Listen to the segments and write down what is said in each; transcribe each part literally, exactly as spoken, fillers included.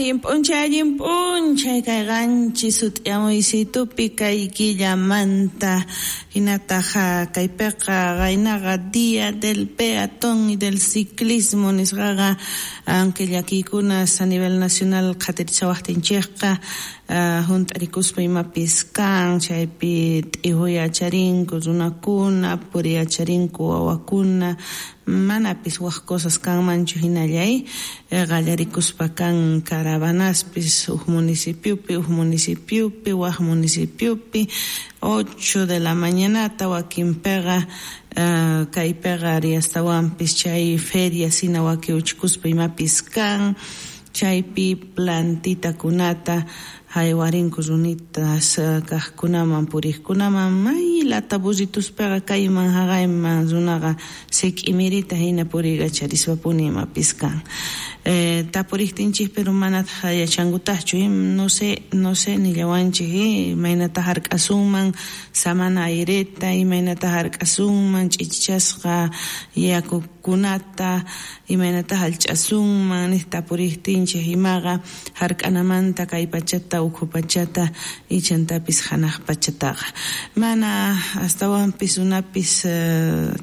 Allin p'unchay, allin p'unchay kay qanchis sut'iyamuysitupi kay killamanta hinataq kaypiqa qaynaqa Día del Peatón y del Ciclismo nisqaqa, aunque llakiykunas a nivel nacional qhatirichawaqtinchikqa hunt'arikuspa imapis kan, chaypi t'ihuy-acharinku runakuna, puriy-acharinku wawakuna, manapis wak cosas kanmanchu hinallay qallarikuspa kan caravanaspis huk municipiopi, huk municipiopi, wak municipiopi, ocho de la mañanata wakinpiqa kaypiqa ari astawanpis chay feria hina wakiuchikuspa imapis kan, chaypi plantitakunata haywarinku runitas kaqkunaman puriqkunaman may lata burrituspiqa kayman haqayman runaqa sik'imirita hina puriykachariswapuni imapis kan. Eh, tapuriqtinchik pero manataq yachankutaqchu, no sé, no sé nillawanchik imaynata hark'asunman samana aireta, imaynata hark'asunman ch'ichichasqa yakukunata, imaynata hallch'asunman niq tapuriqtinchik imaqa hark'anamanta kay pachata ukhu pachata ichantapis hanaq pachataqa. Mana astawanpis runapis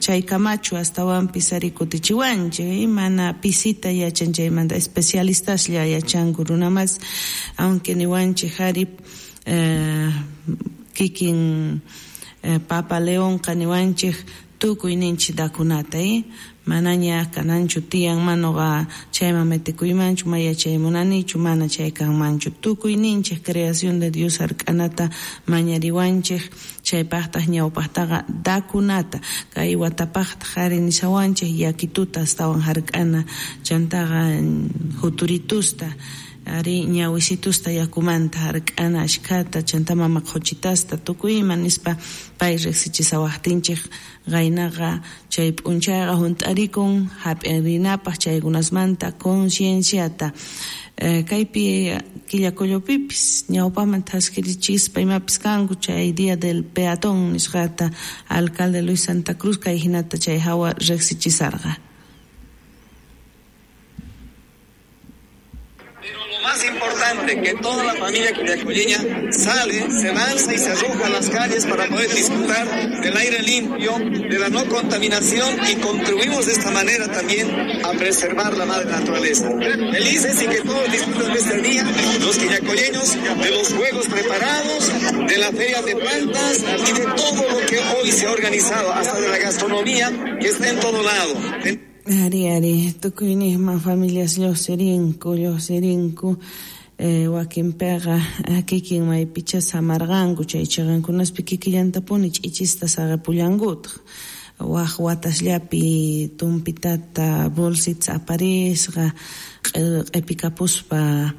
chaykamachu astawanpis ari kutichiwanchik, mana pisita yachan chaymanta especialistaslla yachanku runamas, aunque niwanchik ari eh, kikin eh, Papa Leonqa niwanchik tukuy ninchik dakunata, eh? Manaña kananchu tiyan manoqa chayman metikuymanchu, maya chay munanichu, mana chay kanmanchu. Tukuy ninchik creación de Dios hark'anata mañariwanchik, chaypaqtaq ñawpaqtaqa dakunata, kay watapaqtaq ari nishawanchik yakituta astawan hark'ana, chantaqa huturitusta, ari ñawisitusta yakumanta hark'ana ashkhata, chanta mama qhuchitasta tukuy ima nispa pay riqsichisawaqtinchik qaynaqa chay p'unchayqa hunt'arikun hap'irinapaq chaykunasmanta concienciata. Eh, kaypi Quillacollopipis ñawpaman thaskirichispa imapis kanku chay Día del Peatón nisqata alcalde Luis Santa Cruz kay hinata chay hawa riqsichisarqa. Más importante, que toda la familia quillacolleña sale, se lanza y se arroja a las calles para poder disfrutar del aire limpio, de la no contaminación, y contribuimos de esta manera también a preservar la madre naturaleza. Felices y que todos disfruten de este día, los quillacolleños, de los juegos preparados, de la feria de plantas y de todo lo que hoy se ha organizado, hasta de la gastronomía que está en todo lado. Ari, ari, tukuyniyman familias lluqsirinku, lluqsirinku, eh, wakinpiqa kikin maypicha samarqanku, chay chiqankunaspi kikillantapuni ch'ichista saqapullankutaq. Waq watasllapi tumpitata bolsita aparisqa, q'ipikapuspa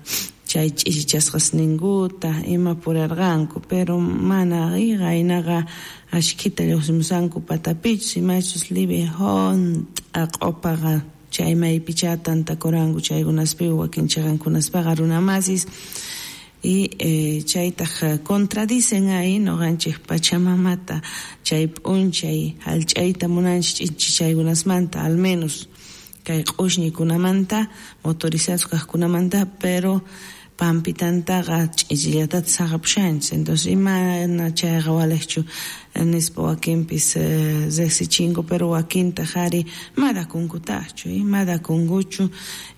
chay ch'ichichasqasninkuta ima purarqanku, pero mana qaynaqa ashkhita lluqsimusanku patapichus imachus libre hunt'a q'upaqa chay maypicha tantakuranku chaykunaspi wakin chiqankunaspaqa runamasis y eh, chaytaq contradicen ahí noqanchik pachamamata chay p'unchay hallch'ayta munanchik ch'ichichaykunasmanta al menos kay q'ushñikunamanta motorizados kaqkunamanta, pero pampitantaqa ch'ichillatata saqapushanchis. Entonces imana chayqa waliqchu nispa wakinpis eh, riqsichinku, pero wakintaq ari madakunkutaqchu, madakunkuchu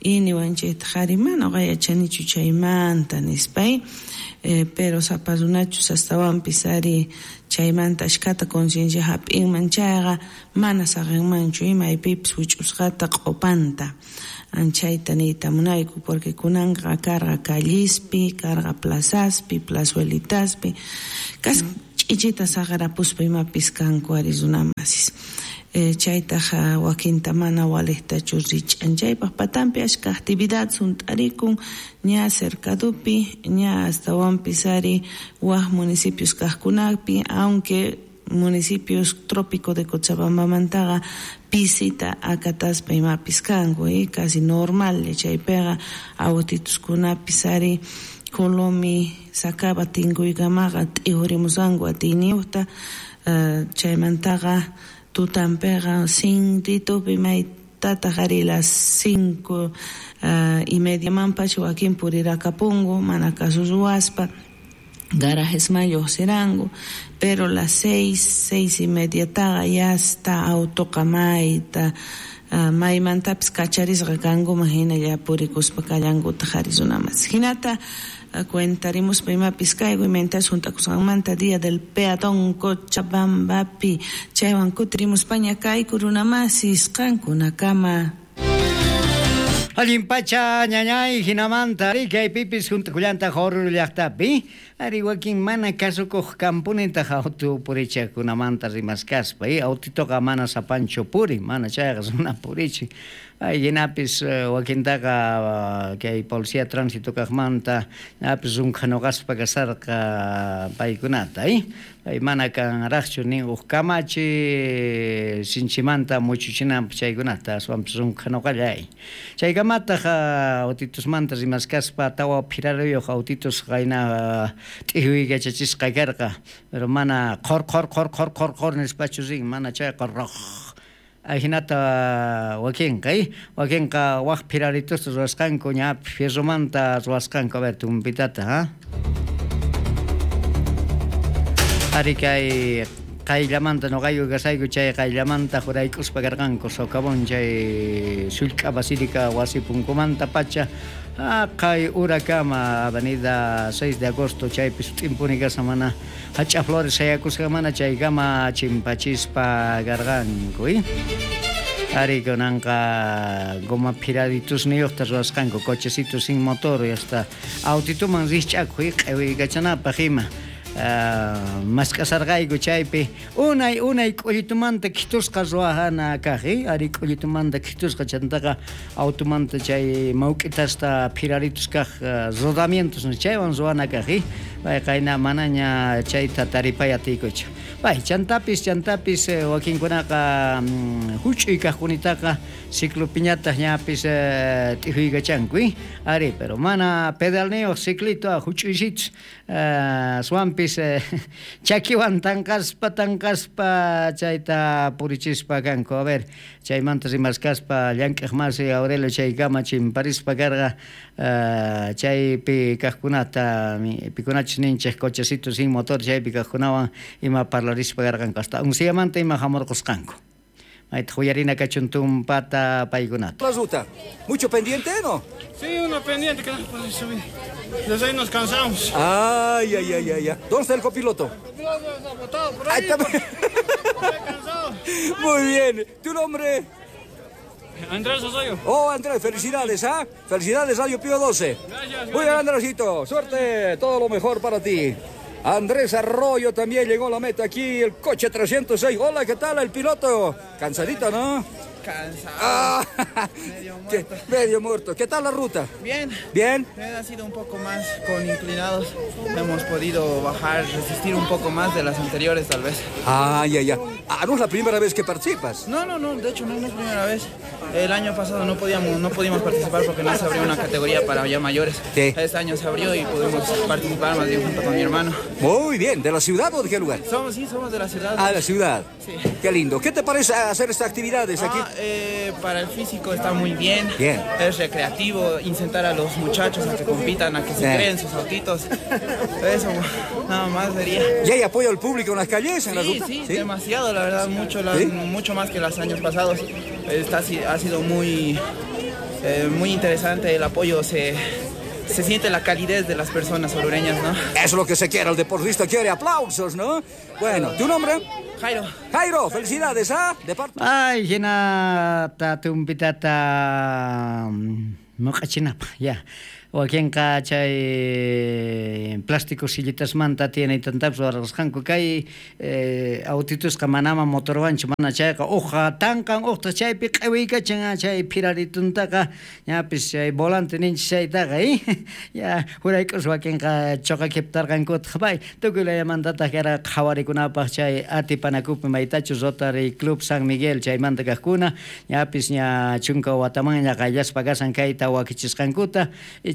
y niwanchiktaq ari mana uqa yachanichu chaymanta nispa, eh, pero sapa runachus astawanpis ari chaymanta ashkhata conciencia hap'inman chayqa mana saqinmanchu imaypipis wich'usqata q'upanta. Anchayta niyta munayku porque kunanqa karqa callispi, karqa plazaspi, plazuelitaspi, kas ch'ichita saqarapuspa imapis kanku ari runamasis. Eh, chaytaq wakinta mana waliqtachu rich'an chaypaq patanpi ashka actividad hunt'arikun ña cercadupi, ña astawanpis ari wak municipios kaqkunapi, aunque municipios trópico de Cochabambamantaqa pisita akataspa imapis kanku, eh, casi normal chaypiqa autituskunapis ari Colomi sacaba tinkuykamaqa t'ihurimusanku atiyniyuqta, uh, chaymantaqa tutanpiqa sintitupi maytataq ari las cinco uh, y mediamanpacha wakin purirakapunku mana caso ruwaspa garajesman lluqsiranku, pero las seis, seis y media taqa ya está autoqa mayta uh, maymantapis kacharisqa kankuman hinalla purikuspa kallankutaq qhari runamas. Hinata uh, cuentarimuspa imapis kayku imaynatas juntakusqanmanta Día del Peatón Cochabambapi chaywan kutirimuspaña kayku runamasis qankunakama. Allin pacha ñañay hinamanta ari kaypipis juntakullanta Oruro llaqtapi ari wakin mana kasukuq kampunitaq auto purichaqkunamanta rimaskaspa y autitoqa mana sapancho puri mana chayqa runa purichi ay hinapis wakintaqa kay policía tránsito kaqmanta ñapis runkhanuqaspa kasarqa paykunata y pay mana kanraqchu nin uq kamachi sinchimanta muchuchinanpaq chaykunata aswanpis runkhanuqallay chaykamataq autitusmanta rimaskaspa tawa phiraruyuq autitus qayna t'ihuykachachisqa karqa pero mana qhor qhor qhor qhor qhor qhor nispachu rin mana chayqa roq ajinata wakinqa wakinqa waq phiraritusta ruwasqanku ña fierromanta ruwasqanku a ver tumpitata ha ari kay qayllamanta nuqayku kasayku chay qayllamanta juraykuspa karqanku socavón chay sullk'a basílica wasi punkumanta pacha kay urakama avenida seis de agosto chaypi sut'impuni kasqa mana hach'a flores sayakusqa mana chaykama chimpachispa karqanku ari kunanqa goma phiraritusniyuqta ruwasqanku cochecitos sin motor y hasta autituman rikch'akuq q'iwiykachanapaq ima Uh, mask'asarqayku chaypi unay unay k'ullitumanta khitusqa ruwajana kaq ari k'ullitumanta khitusqa chantaqa automanta chay mawk'itasta phiraritus kaq uh, rodamientos chaywan ruwana kaq pay qayna manaña chayta taripay atiykuchu pay chantapis chantapis wakinkunaqa um, huch'uy kaqkunitaqa ciclopiñataq ñapis uh, t'ihuykachanku ari pero mana pedalniyuq ciclito huch'uysitus uh, swanpis chakiwan tanqaspa tanqaspa chayta purichispa kanku a ver chaymanta rimaskaspa llank'aq masi Aurelio chaykama chimparispa karqa uh, chaypi kaqkunata pikunachus ninchik cochecito sin motor chaypi kaqkunawan ima parlarispa karqanku hasta unsiyamanta ima hamurqusqanku mayta huyarina kachun tumpata paykunata. La ruta, ¿mucho pendiente, no? Sí, una pendiente que no puede subir. Desde ahí nos cansamos. Ay, ay, ay, ay, ay. ¿Dónde está el copiloto? El copiloto está botado por ahí. Ahí está. Está cansado. Muy bien. ¿Tu nombre? Andrés Osoyo. Oh, Andrés, felicidades, ¿ah? Felicidades, Radio Pío doce. Gracias, gracias. Muy bien, Andresito. Suerte, todo lo mejor para ti. Andrés Arroyo también llegó a la meta aquí, el coche trescientos seis. Hola, ¿qué tal el piloto? Cansadito, ¿no? Cansado. Ah, medio muerto. ¿Qué? Medio muerto. ¿Qué tal la ruta? Bien. ¿Bien? Bien, ha sido un poco más con inclinados. Hemos podido bajar, resistir un poco más de las anteriores, tal vez. Ah, ya, ya. Ah, ¿no es la primera vez que participas? No, no, no. De hecho, no, no es la primera vez. El año pasado no podíamos, no pudimos participar porque no se abrió una categoría para ya mayores. Sí. Este año se abrió y pudimos participar más bien junto con mi hermano. Muy bien. ¿De la ciudad o de qué lugar? Somos, sí, somos de la ciudad. Ah, de la ciudad. Sí. Qué lindo. ¿Qué te parece hacer estas actividades aquí? Ah, eh, para el físico está muy bien. Bien. Es recreativo, incentar a los muchachos a que compitan, a que se sí. creen sus autitos. Eso, nada más sería. ¿Y hay apoyo al público en las calles, en sí, la ruta? Sí, sí, demasiado, la verdad, mucho, la, ¿Sí? mucho más que los años pasados. Está, ha sido muy, eh, muy interesante el apoyo, se... se siente la calidez de las personas orureñas, ¿no? Eso es lo que se quiere, el deportista quiere aplausos, ¿no? Bueno, ¿tu nombre? Jairo. Jairo, felicidades, ¿ah? De parte... Ay, hinata tumpitata muq'achinapaq, ya. Wakinqa chay plástico sillitasmanta tiene tantapis warqasqanku kay eh, autitusqa manama motorwanchu mana chayqa uqa tanqan uqta chaypi q'iwiykachan chay phirarituntaqa ñapis chay volante ninchis chaytaqa eh? Ya jurayk'us wakinqa choqakiptarqankutaq pay tukuy layamantataq kara qhawarikunapaq chay atipanakupi maytachus Rotary Club San Miguel chaymanta kaqkuna ñapis ña chunka watamanña qayllaspa kasan kayta wakichisqankuta.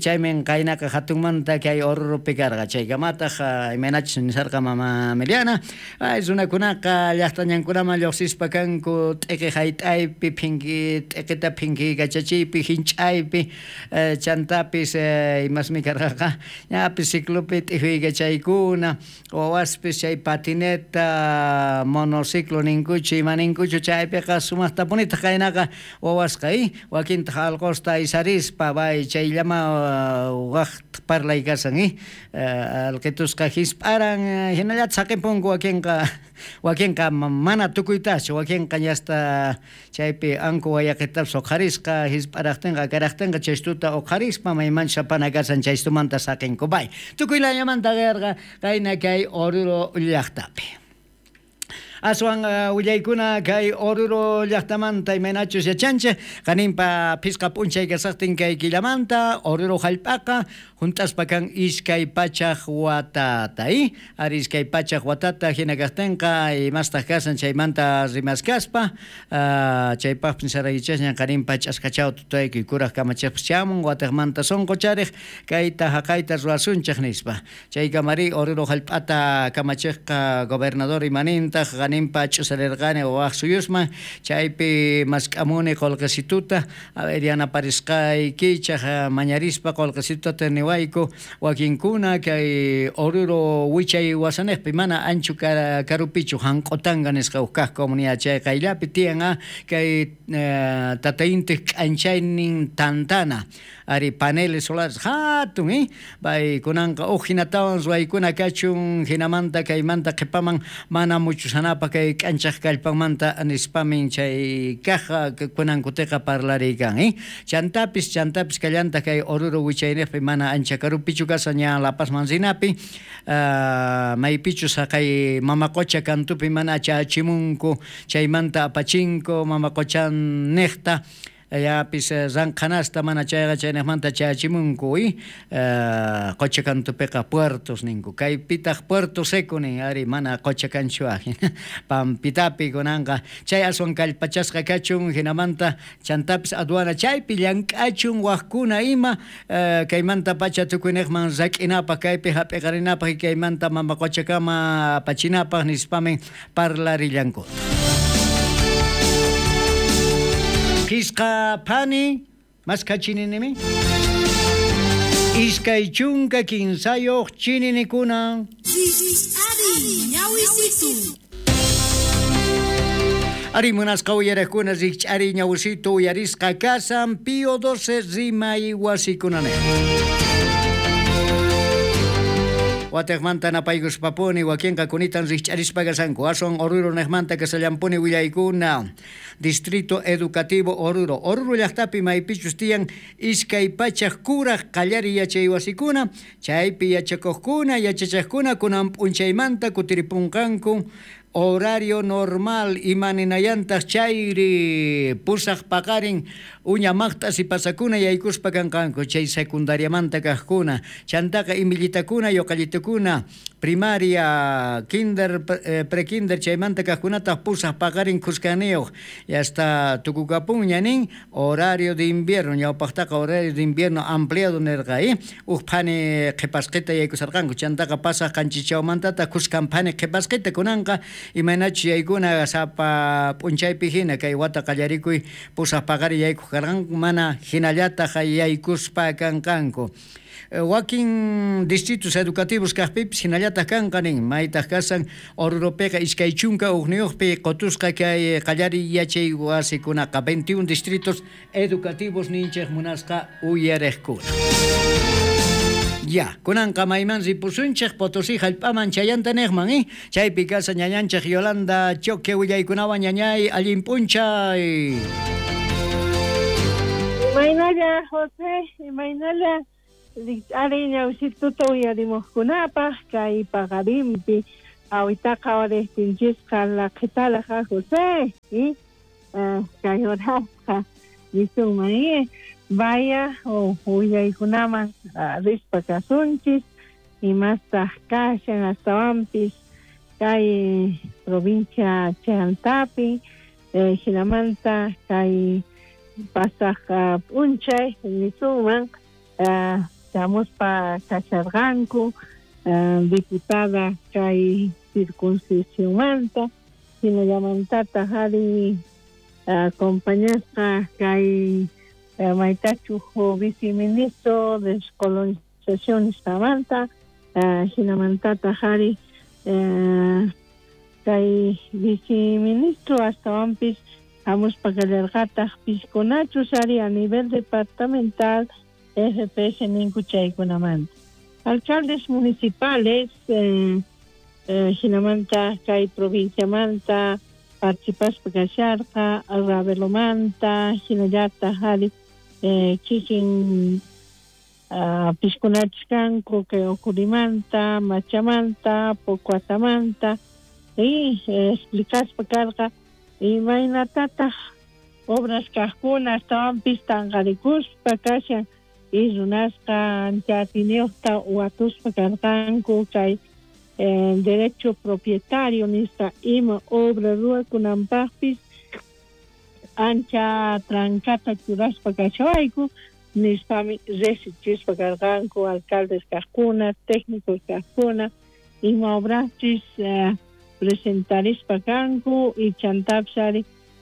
chaymin qaynaqa hatunmanta kay Oruropi karqa chaykamataq imaynachus nisarqa mama Meliana ay runakunaqa llaqtañankunaman lluqsispa kanku t'iqi hayt'aypi phinki t'iqita phinkikachachiypi hinch'aypi chantapis imasmi karqaqa ñapis ciclopi t'ijuykachaykuna wawaspis chay patineta monociclo ninkuchu ima ninkuchu chaypiqa sumaqtapunitaq qaynaqa wawasqa wakintaq alqusta aysarispa bay chayllama waq parlay kasan alqitusqa hisp'aran hinallataq saqinpunku wakinqa wakinqa mana tukuytachu wakinqa ñasta chaypi anku wayaqitapas uqharisqa hisp'araqtinqa akaraqtinqa chaystuta uqharispa maymanchus apana kasan chaystumanta saqinku bay tukuy layamanta qarqa qayna kay Oruro llaqtapi. Aswan willaykuna kay Oruro llaqtamanta imaynachus yachanchik qaninpa phisqa p'unchay kasaqtin kay killamanta Oruro hallp'aqa hunt'aspa kan iskay pachaq watata ari iskay pachaq watata hina kaqtinqa imastaq kasan chaymanta rimaskaspa chaypaqpis nisaraykichasñan qaninpa ch'askachaw tutaykuy kuraq kamachiqpas chamun wataqmanta sunquchariq kayta haqayta ruwasunchik nispa chaykamari Oruro hallp'ata kamachiqqa gobernador imanintaq qaninpa ch'usarirqani waq suyusman chaypi mask'amuni qullqisituta a ver yanaparisqaykichaq mañarispa qullqisituta niwayku wakinkuna kay Oruro wichay wasaniqpi mana anchu karupichu Janq'utanga nisqa huk kaq comunidad chay qayllapi tiyan kay tata intiq k'anchaynin tantana ari paneles solares hatun eh bay kunanqa huk hinatawan ruwaykuna kachun hinamanta kaymanta qhipaman mana muchusanapaq kay k'anchaq kallpanmanta nispamin chay kaq kunankutiqa parlariykan eh chantapis chantapis kallanta kay Oruro wichayniqpi mana ancha karupichu kasan ña La Pazman rinapi maypichus haqay mama qucha kantupi mana chachimunku chaymanta apachinku mama quchan niqta yapis ranqhanasta mana chayqa chayniqmanta chachimunku qucha kantupiqa puertos ninku kaypitaq Puerto Seco nin ari mana qucha kanchu pampitapi kunanqa chay aswan kallpachasqa kachun hinamanta chantapis aduana chaypi llank'achun waqkuna ima kaymanta pacha tukuyniqman rak'inapaq kaypi hap'iqarinapaq kaymanta mama quchakama apachinapaq nispamin parlarillanku. Phisqa phani maskha chininimi iskay chunka kinsayuq chininikuna ari munasqa uyariqkuna rikch'ari ñawisitu uyarisqa kasan Pío doce rimay wasikunanejta Wataqmanta napaykuspapuni wakinqa kunitan rikch'arispa kasanku aswan Oruro niqmanta kasallampuni willaykuna Distrito Educativo Oruro Oruro llaqtapi maypichus tiyan iskay pachaq kuraq qallari yachay wasikuna chaypi yachakuqkuna yachachaqkuna kunan p'unchaymanta kutiripunqanku horario normal imaninayantaq chayri pusaq paqarin uña maqt'as ipasakuna yaykuspa kanqanku chay secundariamanta kaqkuna chantaqa imillitakuna yuqallitukuna primaria kinder prekinder chaymanta kaqkunataq pusaq paqarin khuskaniyuq hasta tukukapunña nin horario de invierno ñawpaqtaqa horario de invierno ampliado nirqa uj phani qhipasqita yaykusarqanku chantaqa pasaq qanchichawmantataq khuskan phani qhipasqita kunanqa imaynachus yaykuna sapa p'unchaypi hina kay wata qallarikuy pusaq paqari yaykuq karqanku mana hinallataq yaykuspa kanqanku wakin distritos educativos kaqpipis hinallataq kanqa nin maytaq kasan Oruropiqa iskay chunka hukniyuqpi qutusqa kay qallari yachay wasikunaqa veintiún distritos educativos ninchik munasqa uyariqkuna. Ya, kunanqa mayman ripusunchik Potosí hallp'aman chayanta niqman eh chaypi kasa ñañanchik Yolanda Choque willaykunawan ñañay allin p'unchay. Imaynalla José, imaynalla ari ñawsituta uyarimuqkunapaq kay paqarinpi awitaqa wariqtinchisqa laqhitalaqa José kay horasqa nisunman vaya willaykunaman rispa kasunchis imastaq kashan astawanpis kay provincia Chantapi hinamanta kay pasaq p'unchay nisunman Chamuspa kasharqanku diputada kay circunscripcionmanta hinallamantataq ari acompañasqa kay maytachu viceministro de descolonización nisqamanta hinamantataq ari kay viceministro astawanpis hamuspa kallarqataq piskunachus ari a nivel departamental F P S ninku chaykunamanta. Alcaldes municipales eh, eh, hinamanta kay provinciamanta participaspa kasharqa Ravelomanta hinallataq ari eh, kikin uh, piskunachus kanku kay Ocurimanta, Machamanta, Pocuatamanta y eh, explicaspa karqa imaynatataq obras kaqkuna astawanpis tanqarikuspa kashan y runasqa ancha atiniyuqta watuspa karqanku kay eh, derecho propietario nisqa ima obra ruwakunanpaqpis ancha trancata churaspa kashawayku nispami resichispa karqanku alcaldes kaqkuna técnicos kaqkuna ima obraschis eh, presentarispa kanku y chantapis ari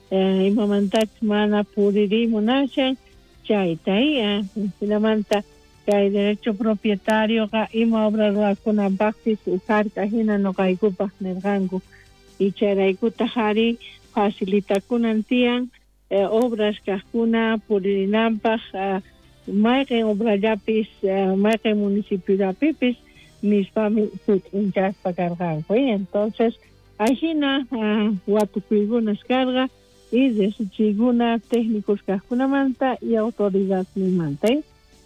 eh, imamantachis mana puririmunashan chayta eh, hinamanta kay derecho propietario ima obra ruwakunanpaqpis ujarka hina noqaykupaq nirqanku y chayraykutaq ari facilitakunan tiyan eh, obras kaqkuna puririnanpaq eh, mayqin obrallapis eh, mayqin municipiollapipis nispami sut'inchaspa karqanku. Entonces ajina uh, watukuykunas karqa y desichiykuna técnicos kaqkunamanta y autoridadninmanta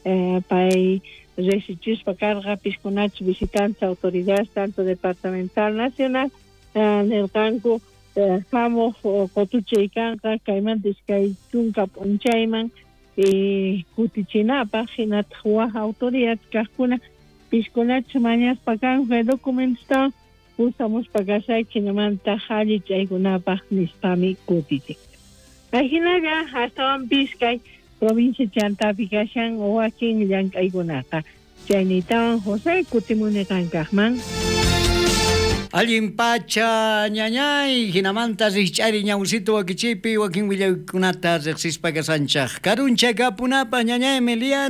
eh, pay resichispa karqa piskunachus visitantes autoridades tanto departamental nacional eh, nirqanku eh, hamuq qotuchay kanqa kaymanta iskay chunka p'unchayman y kutichinapaq hinataq waj autoridad kaqkuna piskunachus mañaspa kanku kay documentosta pusamuspa kasayki hinamanta allichaykunapaq nispami kutichin. Ajinalla astawanpis kay provincia chantapi kashan wakin llank'aykunaqa. Chaynitawan José kutimuni qankaqman. Allin pacha ñañay hinamanta rikch'ari ñawsito wakichipi wakin willaykunata riqsispa kasanchaq karuncha kapunapaq ñañay Meliana.